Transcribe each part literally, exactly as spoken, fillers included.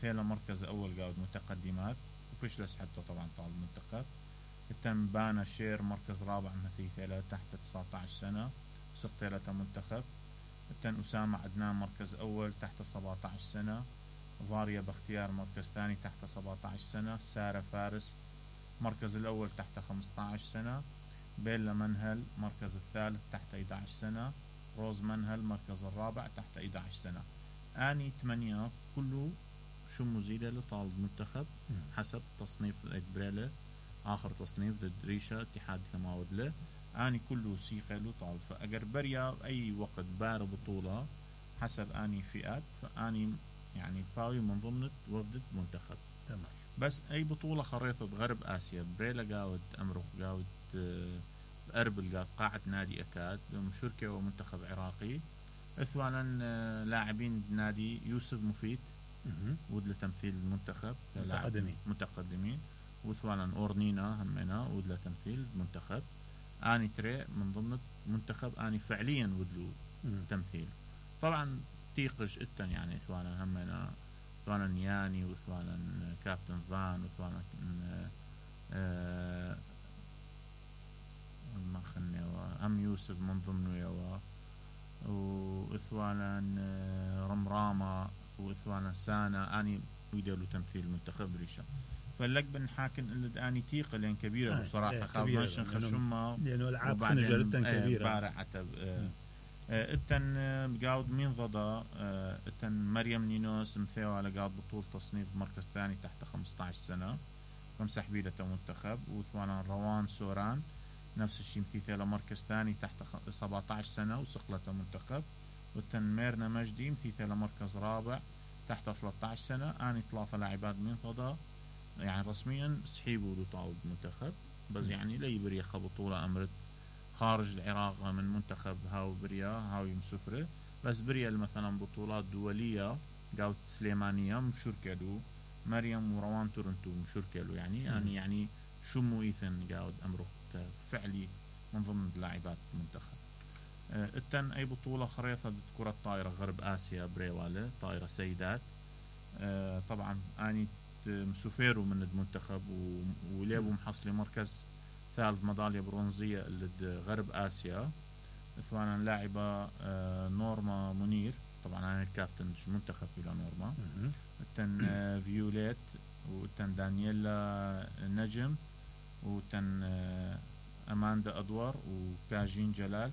مثيلة مركز أول قاود متقدمات وبشلس حتى طبعا طال المنتخب. التن بانا شير مركز رابع مثيلة تحت تسعة عشر سنة وسقطيلة منتخب. التن أسامة عدنان مركز أول تحت سبعة عشر سنة. ضاريا باختيار مركز ثاني تحت سبعة عشر سنة. سارة فارس مركز الأول تحت خمسة عشر سنة. بيلا منهل مركز الثالث تحت إحدى عشر سنة. روز منهل مركز الرابع تحت إحدى عشر سنة. آني ثمانية كله شو مزيدة لطالب منتخب حسب تصنيف الإجبريلة آخر تصنيف ضد ريشة اتحاد كماود له. آني كله سيخة لطالب فأجر بريا أي وقت بار بطولة حسب آني فئات فآني يعني باوي من ضمن وردة منتخب. تمام. بس أي بطولة خريطة غرب آسيا بريلا قاود أمرق قاود أربل قاود قاعة نادي أكاد مشاركة ومنتخب عراقي. اثوانا لاعبين نادي يوسف مفيد ودل تمثيل المنتخب متقدمين متقدمين. وثوانا أورنينا همنا ودل تمثيل المنتخب. آني تري من ضمن منتخب آني فعليا ودلو تمثيل. طبعا تيقش التن يعني ثوانا همنا ثوانا نياني وثوانا كابتن فان وثوانا آه ما خلني أم يوسف من ضمنه يوا وثوانا رمرامة وثوانا سانا آني ويدلو تمثيل منتخب ريشة. فلك بنحاكن اللي آني تيقة لين كبيرة آه بصراحة خاصة خشمة لأنه العاب خنجر التن كبيرة بارع عتب التن قاود مين ضدا التن مريم نينوس مثيو على قاود بطولة تصنيف مركز ثاني تحت خمسة عشر سنة خمسة حبيلة منتخب. وثوانا روان سوران نفس الشيء مثيلة مركز ثاني تحت سبعة عشر سنة وسقلة منتخب. والتن ميرنا مجدي مثيلة مركز رابع تحت ثلاثة عشر سنة. آني ثلاثة لاعبات من ضدا يعني رسميا سحيبوا لطاولة منتخب بس يعني لي بريا بطولة أمرت خارج العراق من منتخب هاو بريا هاو يمسفرة بس بريا مثلا بطولات دولية قاوت سليمانية مشاركة له مريم وروان تورنتو مشاركة له يعني يعني يعني شمو إيثن قاود أمره فعلي من ضمن لاعبات المنتخب. أه التن أي بطولة خريطة كرة الطائرة غرب آسيا بريوالة طائرة سيدات. أه طبعا آني مسوفيرو من المنتخب وليبو محصلي مركز ثالث ميدالية برونزية لغرب آسيا. اثوانا لاعبة آه نورما منير طبعا أنا الكابتن منتخب إلى نورما. التن آه فيوليت والتن دانييلا نجم والتن آه أماندا أدوار وكاجين جلال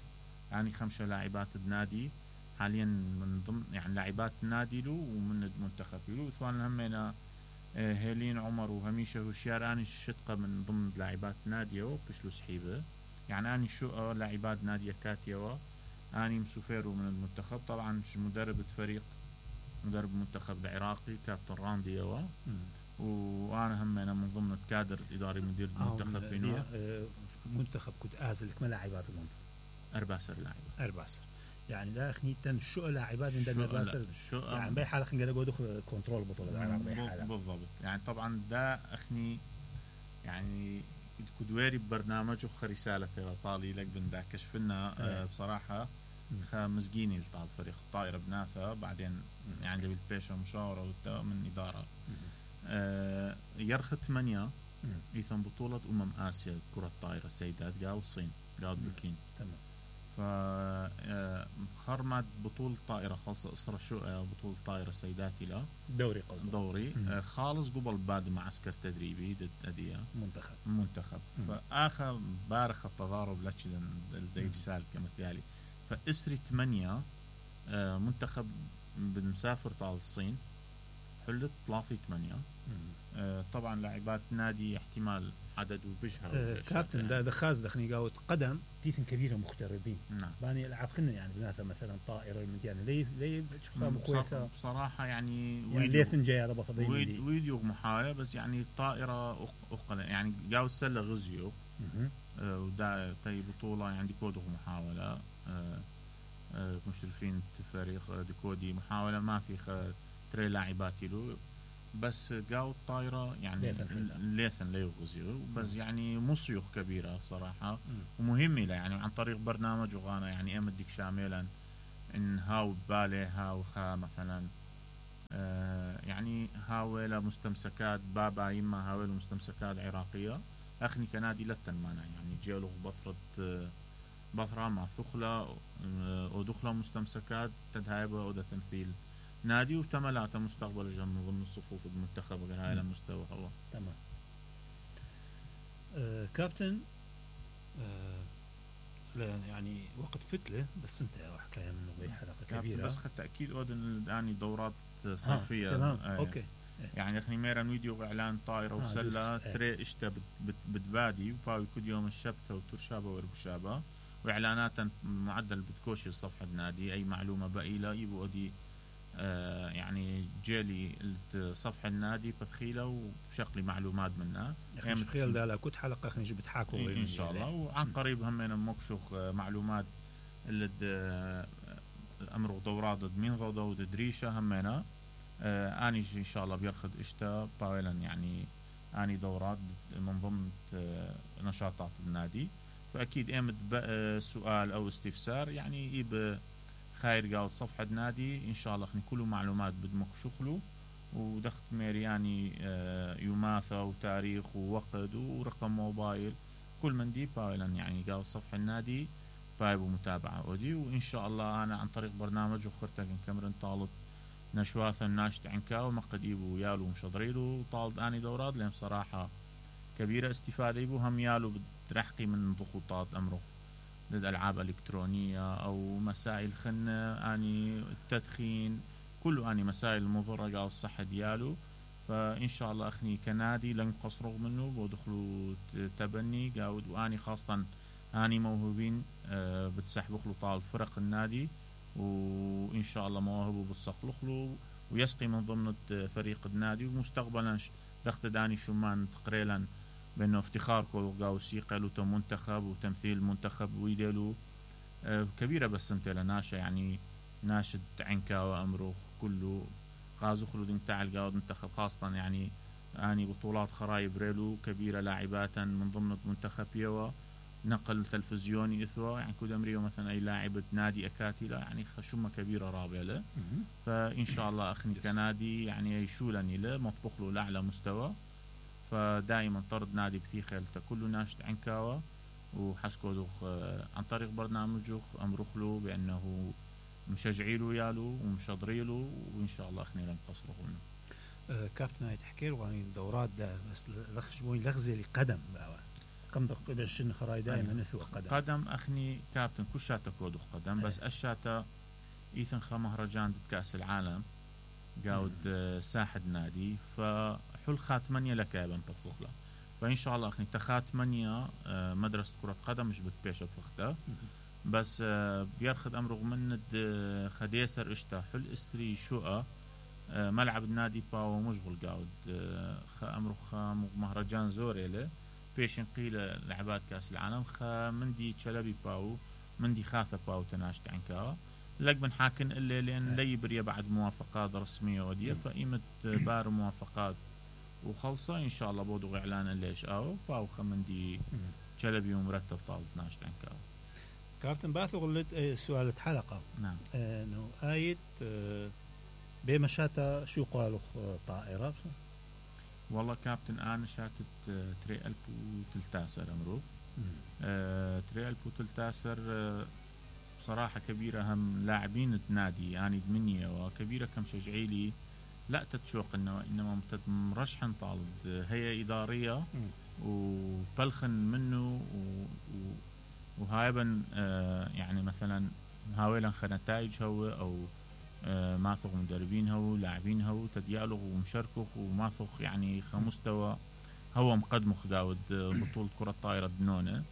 يعني خمسة لاعبات النادي حاليا من ضمن يعني لاعبات النادي له ومن المنتخب له. اثوانا همينا هيلين عمر وهميشة وشيار أني الشتقة من ضمن لاعبات نادية وبشلو سحيبة يعني أني شو لاعبات نادية كاتيوا أني مسوفيرو من المنتخب. طبعا مدرب الفريق مدرب المنتخب العراقي كابتن راندي يوا وأنا هم أنا من ضمن الكادر الإداري مدير المنتخب بينه منتخب كنت أزلك ما لاعبات المنتخب أرباسر لاعبة أرباسر يعني لا خنيتن شو لاعبات عند الأرباسر يعني بأي حالة خنقدر جودو كنترول بطولة العراق بأي حالة بالضبط يعني طبعا ده أخني يعني كدويري ببرنامج وخ رسالة في طالي لك بن كشفنا أه بصراحة خمسجيني لطال فريق الطائرة بناثة بعدين يعني اللي بالبيشة مشاورة من إدارة أه يرخ ثمانية إيثم بطولة أمم آسيا كرة الطائرة السيدات قاو الصين قاو بكين. تمام. فخرمت بطولة طائرة خاصة إصرة شو بطولة طائرة سيداتي لا دوري قصد دوري آه خالص قبل بعد معسكر تدريبي ضد أدية منتخب منتخب فآخر بارخ التضارب لاتشلن الديج سال كمثالي فإسري ثمانية آه منتخب بنسافر طال الصين حلت ثلاثة ثمانية آه طبعا لاعبات نادي احتمال عدد وبشهر آه كابتن ده دخاز دخني قاوت قدم تيثن كبيرة مغتربين نعم باني العاب خلنا يعني بناتها مثلا طائرة المديانة ليه ليه بشوفها بصراحة يعني يعني ليثن جاي على بفضيل ويد ويديو محاية بس يعني طائرة أقل يعني قاوت سلة غزيو آه ودا تي بطولة يعني كودو محاولة آه آه مشرفين فريق ديكودي محاولة ما في خ تري لاعباتي له بس قاو الطائرة يعني ليثن ليه غزيو بس يعني مصيخ كبيرة صراحة ومهمة له يعني عن طريق برنامج وغانا يعني امدك شاملا ان هاو بالي هاو خا مثلا آه يعني هاويلا مستمسكات بابا يما هاويلا مستمسكات عراقية أخني كنادي لتن مانا يعني جيلو بطرة آه بطرة مع ثخلة آه ودخلة مستمسكات تدهايبة ودا تمثيل نادي وتملاته مستقبل جم ضمن الصفوف المنتخب غير هاي المستوى هو تمام. آه كابتن آه يعني وقت فتلة بس انت حكاية منه بي حلقة كبيرة بس حتى أكيد أودن يعني دورات صيفية تمام آه. أوكي يعني اخني ميرا فيديو اعلان طايره آه وسله تري اشتا بتبادي وفاوي كل يوم الشبثه وترشابه وربشابه واعلانات معدل بتكوشي صفحه النادي اي معلومه بقيله يبقوا دي آه يعني جيلي صفحه النادي بتخيله وشغلي معلومات منها يعني تخيل ده كنت حلقه اخني جبت حاكوا ان شاء الله وعن قريب همين مكشوخ معلومات اللي امر دورات ضد مين ضد دريشه همينا آه اني ان شاء الله بيرخد اشتا باولا يعني اني دورات من ضمن آه نشاطات النادي فاكيد ايمت سؤال او استفسار يعني يب خير قاعد صفحه نادي ان شاء الله خني كله معلومات بدمك شغله ودخت ميري يعني آه يماثى وتاريخ ووقت ورقم موبايل كل من دي باولا يعني قاعد صفحه النادي بايب ومتابعه ودي وان شاء الله انا عن طريق برنامج وخرتك كاميرون طالب نشواثا ناشت عنكا ومقد يبو يالو مشضريلو طالب اني دورات لهم صراحة كبيرة استفادة يبو هم يالو بترحقي من ضغوطات امره ضد العاب الكترونية او مسائل خنة اني التدخين كله اني مسائل مضرة قاو الصحة ديالو فان شاء الله اخني كنادي لن قصروا منه بودخلوا تبني قاود واني خاصة اني موهوبين أه بتسحبخلو طالب فرق النادي وإن شاء الله مواهبه بتصقلخ له ويسقي من ضمن فريق النادي ومستقبلا دخت داني شمان تقريبا بأنه افتخاركم قاوسي قالوا منتخب وتمثيل منتخب ويدلو آه كبيرة بس انت لناشا يعني ناشد عنكا وأمره كله غازو خلود تعال قاود منتخب خاصة يعني اني بطولات خرايب ريلو كبيرة لاعبات من ضمن منتخب يوا نقل تلفزيوني إثوى يعني كود أمريكا مثلا أي لاعبة نادي أكاتلا يعني خشمة كبيرة رابعة له فإن شاء الله أخني كنادي يعني يشولني له مطبخ له لأعلى مستوى فدائما طرد نادي بثي خيلته كله ناشط عنكاوة وحسكو دوخ عن طريق برنامجه أمرخ له بأنه مشجعيله يالو ومشضريله وإن شاء الله أخني لن قصره منه. أه كابتن هاي تحكي له عن الدورات ده بس لخشبوني لغزي لقدم بقى كم دقيقة بشن خراي دائما نثوى قدم قدم أخني كابتن كل شاتا كودو قدم أيه. بس الشاتا إيثن خا مهرجان كأس العالم قاود مم. ساحد نادي فحل خاتمانية لك يا بن بفخلا فإن شاء الله أخني تخاتمانية مدرسة كرة قدم مش بتبيش بفخته بس بيرخد أمر من خديسر اشتا حل اسري شقة ملعب النادي باو مشغل قاود خا أمر خا مهرجان زوري له بيشن قيل لعبات كاس العالم خا مندي تشلبي باو مندي خاثة باو تناشت عنكا لك بن حاكن اللي لأن لي بريا بعد موافقات رسمية ودية فإيمت بار موافقات وخلصة إن شاء الله بودو إعلان الليش أو باو خا مندي تشلبي ومرتب طالب ناشت عنكا كابتن باثو غلت سؤال حلقة نعم انه آية بمشاتا شو قالوا طائرة والله كابتن أنا شاتت تري ألف وتلتاسر أمرو آه تري ألف وتلتاسر آه بصراحة كبيرة هم لاعبين النادي يعني دمنية وكبيرة كم شجعيلي لا تتشوق إنه إنما مرشحن طالب هي إدارية وبلخن منه وهايبا آه يعني مثلا هاويلا خنتائج هو أو آه ماثق مدربين هو لاعبين هو تديالغ ومشاركه وماثق يعني خمستوى هو مقدمه داود بطولة كرة طائرة دنونة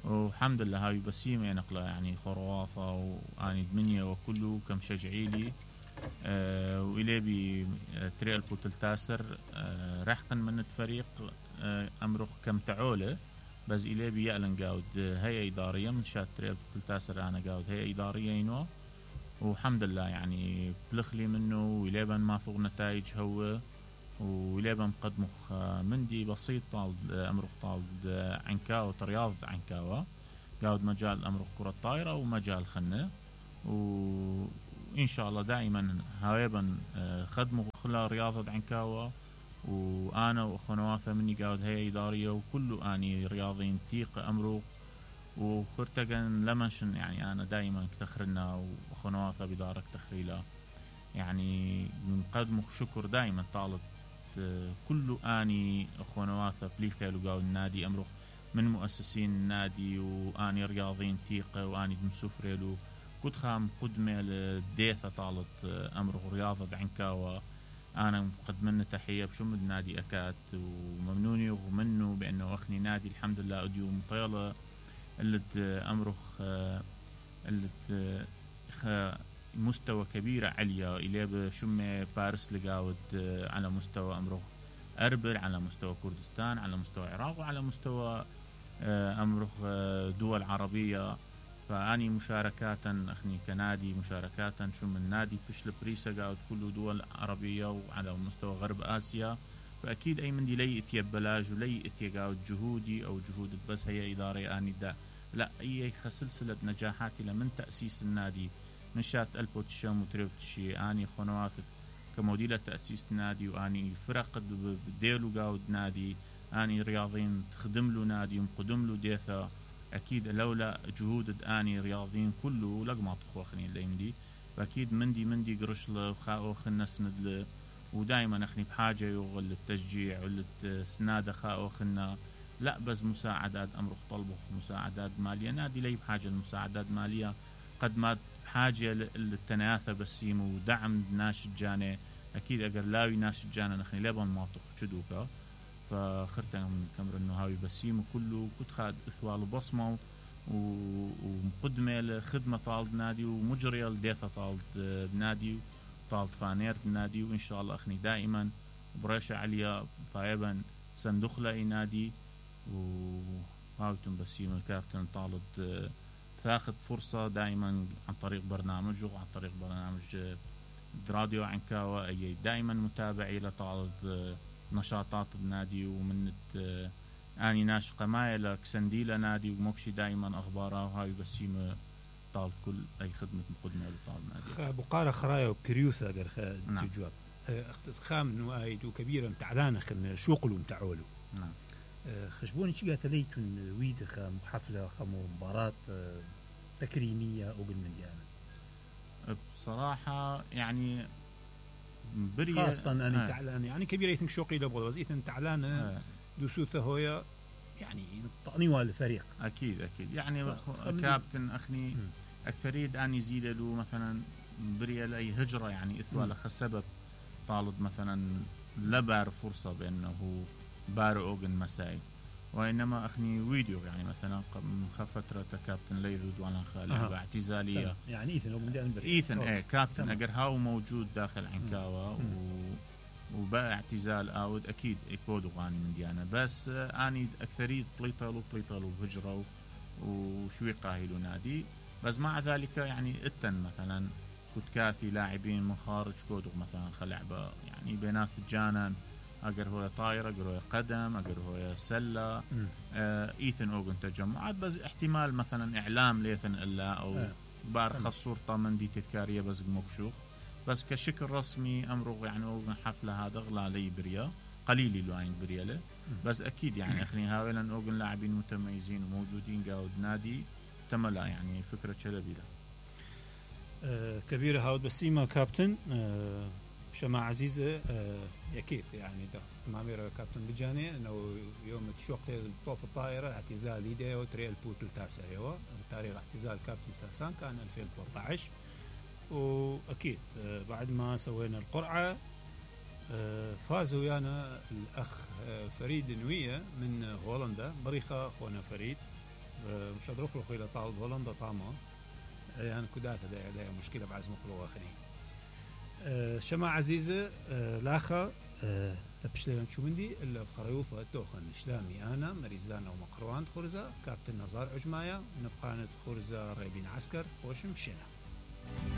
والحمد لله هاي بسيمة نقلة يعني خرواطة واني دمنية وكله كم شجعيلي آه وإلي بي تري ألف وتلتاسر آه رحقا من الفريق آه أمرخ كم تعولة بس إلي بي يعلن قاود هي إدارية من شات تري ألف وتلتاسر أنا قاود هي إدارية ينوى والحمد لله يعني بلخلي منه وليبن ما فوق نتائج هو وليبن مقدمخ مندي بسيط طالب أمرخ طالب عنكاوة رياض عنكاوة قاود مجال أمرخ كرة طائرة ومجال خنة وإن شاء الله دائما هايبا خدموا خلا رياضة عنكاوة، وأنا وأخوانواثا مني قاعد هي إدارية وكله أني رياضيين تيق أمرو وخرتقن لمنشن. يعني أنا دائما تخرنا وأخوانواثا بدارك تخريلا، يعني نقدموا شكر دائما طالب كله أني أخوانواثا بليخ لقاو النادي أمرو من مؤسسين النادي، وأني رياضيين تيقة وأني دمسوفريلو كنت خام قدمة لديثة طالت أمره رياضة عنكاوة. أنا مقدمنا تحية بشم النادي أكاد وممنوني ومنه بأنه أخني نادي الحمد لله أديو مطيلة اللي أمره اللي مستوى كبيرة عليا إليه بشم باريس لقاود على مستوى أمره أربل، على مستوى كردستان، على مستوى العراق، وعلى مستوى أمره دول عربية. فأني مشاركاتا أخني كنادي مشاركاتا شو من نادي فيش لبريسا قاعد كله دول عربية وعلى مستوى غرب آسيا. فأكيد أي من دي لي إثيا بلاج ولي إثيا قاعد جهودي أو جهود بس هي إدارة أني دا لا أي سلسلة نجاحاتي لمن تأسيس النادي من شات ألف وتشام وتريوتشي أني خنوافت كموديلة تأسيس نادي، وأني فرق بديلو قاعد نادي أني رياضيين تخدم له نادي ومقدم له ديثا. أكيد لولا جهود أني رياضيين كله لقما تخوخني اللي مدي، فأكيد مندي مندي قرش له خاوخ الناس ندله، ودائما أخني بحاجة يغل التشجيع والسنادة خاوخنا لا بس مساعدات أمر طلبه مساعدات مالية. نادي لي بحاجة المساعدات مالية قد ما بحاجة للتناثة بسيم ودعم ناس الجانة. أكيد أقر لاوي ناس الجانة نخني لابن ماطق شدوكا، فخرتنا من كمر انه هاوي بسيم كله كنت خاد اثوال بصمه ومقدمه لخدمه طالب نادي ومجريه لديثه طالب نادي طالب فانير نادي. وان شاء الله اخني دائما بريشه عليا طيبا صندوق لاي نادي وهاوتم بسيم الكابتن طالب تاخذ فرصه دائما عن طريق برنامجه وعن طريق برنامج راديو عنكاوة. اي دائما متابعي لطالب نشاطات النادي ومن اني ناشقه ماي لكسنديلا نادي وموكشي دائما اخبارها وهاي بسيمه طال كل اي خدمه مقدمه لطال نادي بقاره خرايا وكريوثا قال نعم. جواب اخت خام نوايد وكبيره متعلانه خن شوقلو متعولو نعم خشبوني شي قالت ليتون ويد خام حفله خام مباراه تكريميه او بالمليان بصراحه يعني بريه خاصة أنا تعلان يعني كبير يتم شوقي لبغض وزيتن تعلان آه. دوسوته هويا يعني طقني الفريق أكيد أكيد يعني كابتن أخني أكثريد أني زيد له مثلا بريه لأي هجرة يعني إثوال خسبب طالب مثلا لبار فرصة بأنه بار أوغن مساي، وإنما أخني فيديو يعني مثلا من فترة كابتن ليلود وأنا خالي أه. باعتزالية يعني إيثن ومن إيثن إيه كابتن أجر هاو موجود داخل عنكاوة و... وبقى اعتزال آود أكيد إكودو غاني من ديانا بس أني أكثرية طليطلو طليطلو بهجرة وشوي قاهلو نادي. بس مع ذلك يعني إتن مثلا كنت كاثي لاعبين من خارج كودو مثلا خلعبة يعني بينات الجانن أجر هو طايرة أجر هو قدم أجر هو سلة آه إيثن أوغن تجمعات بس احتمال مثلا إعلام ليثن إلا أو آه. بار خصور طامن دي تذكارية بس مكشوف بس كشكل رسمي أمره يعني أوغن حفلة هذا غلا لي بريا قليلي لوين بريا له بس أكيد يعني أخني هاولا أوغن لاعبين متميزين وموجودين قاود نادي تملا يعني فكرة شلبي له آه كبيرة هاود بسيمة كابتن آه شما عزيزة آه يكيد يعني ده معمير كابتن بجاني انه يوم تشوق طوف الطائرة اعتزال ليديا وتريال بوت التاسع هو تاريخ اعتزال كابتن ساسان كان ألفين وثلاثة عشر. واكيد آه بعد ما سوينا القرعة آه فاز ويانا الاخ آه فريد نوية من هولندا بريخة اخونا فريد آه مش هدرف له الى طالب هولندا طامة يعني كداته ده, ده مشكلة بعزم خلوة اخني أه شما عزيزة أه لاخا أه تبشلنا شو مندي إلا بخريوفة توخن إسلامي أنا مريزانا ومقروان خرزة كابتن نزار عجمايا نفقانة خرزة ريبين عسكر وشم شنا.